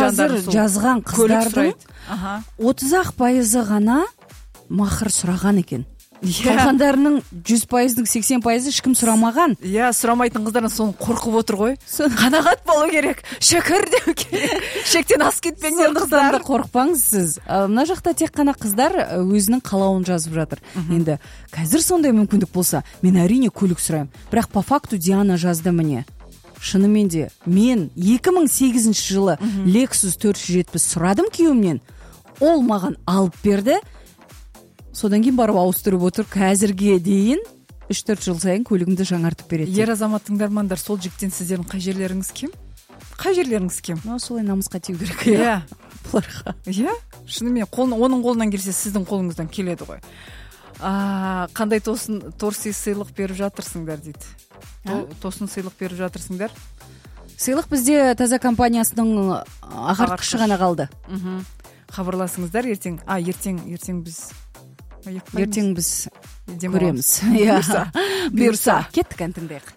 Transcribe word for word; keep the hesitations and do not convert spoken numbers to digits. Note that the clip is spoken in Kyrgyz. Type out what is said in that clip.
азыр жазган кыздардын отуз ак пайызы гана махр сураган экен. Калгандарынын жүз пайыздын сексен пайызы эч ким сурамаган. Иә, сурамайтын кыздар сонун коркуп отур го. Канагат болуу керек, шөкөр деп керек. Шектен асып кетпеңдер кыздар. Да коркпаңыз сиз. Мына жакта тек гана кыздар өзүнүн каалоонун жазып жатыр. Эndi азыр сондай мүмкүндүк болсо, мен арийне көлүк сурайм. Бирок по факту Диана жазды міне. Шынымен де мен эки миң сегизинчи жылы Lexus төрт жүз жетимиш сурадым күйөөмдөн. Ол маган алып берди. Содан кийин барып ауыстырып отур. Азырге дейин үч төрт жыл сайын көлүгүмдү жаңартып берет. Ер азамат тыңдармандар, сол жигиттен сиздердин кай жерлериңиз кем? Кай жерлериңиз кем? Ну, солай намыска тиүү керек. Иә. Буларга. Иә. Шынымен онун колунан келсе, сиздин колуңуздан келеди го. А, кандай тосын торси сыйлык берип жатырсыңдар дейт. Тосын сыйлык берип жатырсыңдар? Сыйлык бизде Таза компаниясынын агарткычы гана калды. Кабарласыңыздар эртең. А, эртең, эртең биз Эртең биз көрөмүз. Буюрса, буюрса. Кеттик, антиңдек.